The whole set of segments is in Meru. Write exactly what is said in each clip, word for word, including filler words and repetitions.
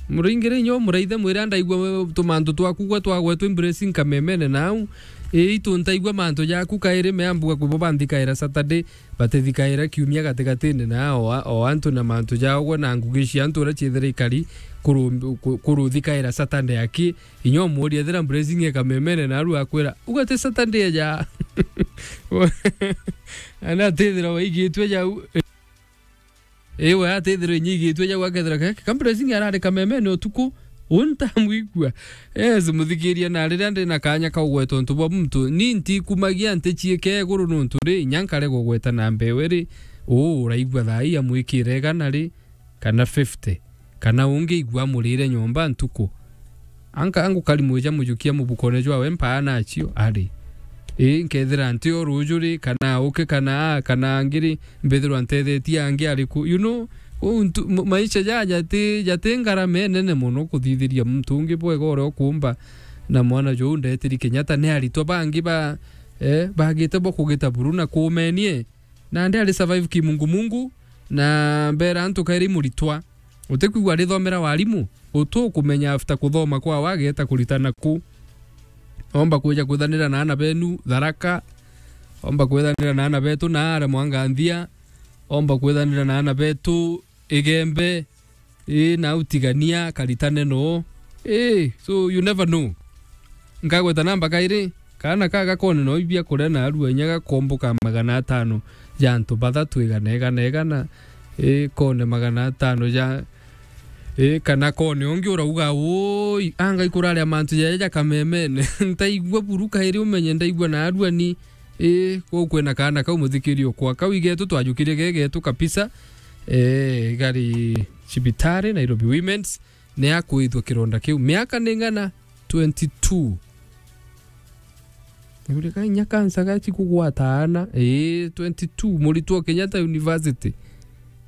Muringire inyo muraithe mwire andaigua tumantu twaku gwe twagwetwa embracing kamemene nau. Ii, itu ntaigua mantu jaku kairi meambuga kubo banthikaira Saturday, batithikaira kiumia gatigatine na o, o antu na mantu jao gwe na ngugi cia antu uria ciethira ikari kuru-, ku-, kuruthikaira Saturday aki. Inyo muria ethira embracing e kamemene naru akwira, "Uga ti Saturday ja." Ana atithira waigitwe jau. Iwe atithirwe inyigitwe ja gwakethira ke, ka embracing arari kamemene utuku, untamwigua. Yes, muthikiria, na riria ndi na kanya ka ugweta untu bwa muntu, ni ntikumagia ntichiike iguru nuntu ri, inya nkare gugweta na mbewe ri, uu uraigua thaa ii amwikire igana ri, kana fifty, kana ungi igua amurire nyomba ntuku. Anka angukari mwija mujukia mubukone jwawe mpaa nacio ari. Ii, nkethira nti o ruju ri, kana uke, kana a, kana angiri, mbithirwa ntethetie angi ariku? You know, uu ntu-, m-, maisha ja jati, jati ngarama inene mono kuthithiria muntu ungi bwega uria ukuumba. Na mwana juu ndetiri Kenyatta, ni aritwa bangi ba, eh, bagite bo kugita buru na kuumenie. Nandi ari survive kimungumungu, na mbera antu kairi muritwa. Utikwigua arithomera warimu, utu ukumenya after kuthoma kwawe ageta kuritana ku. Omba kwija kwithanira na ana benu Tharaka, omba kwithanira na ana betu naare Mwanganthia, omba kwithanira na ana betu Igembe, ii, na utigania karitane no. Ii, so you never know. Nkagweta namba kairi, kaana ka gakone no ibia kuria na arua inya gakomboka magana atano ja antu bathatu igana, igana, igana. Ii, kone magana atano ja, ii, kana kone ungi urauga, "Ui, anga ikuraria mantu jaja ja kamemene." Ntaigua buru kairi umenye ndaigua na arua ni. Ii, kuu kwina kaana kau muthikiri ukwa. Kau igetu twajukirie gegetu kabisa. Ee, gari cibitari, Nairobi Women's, ni akwithua kironda kiu. Miaka ni ng'ana? Twenty-two. Uri ka inya kansa gachi kugwata ana? Ee, twenty-two, muritwo Kenyatta University.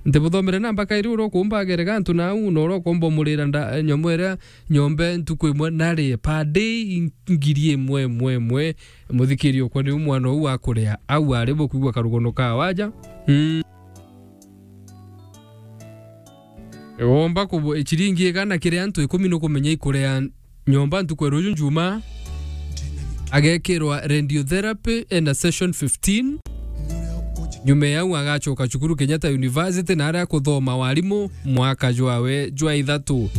Ntibuthomere namba kairi uria ukuumba agere gantu nau, na uria ukomba umurira nda-, nyomo iria nyombe ntuku imwe nari per day ngiri imwe, imwe, imwe. Muthikiri ukwa niu mwana uu akuria. Au ari bukwigua karugono ka waja. Mm. Womba kubu-, chiringi igana kiri antu ikumi nukumenya ikuria nyomba ntuku ya ruju Njuma. Agekirwa radiotherapy ena session fifteen. Nyuma ya au agachoka cukuru Kenyatta University na aria kuthoma warimu mwaka jwawe jwa ithatu.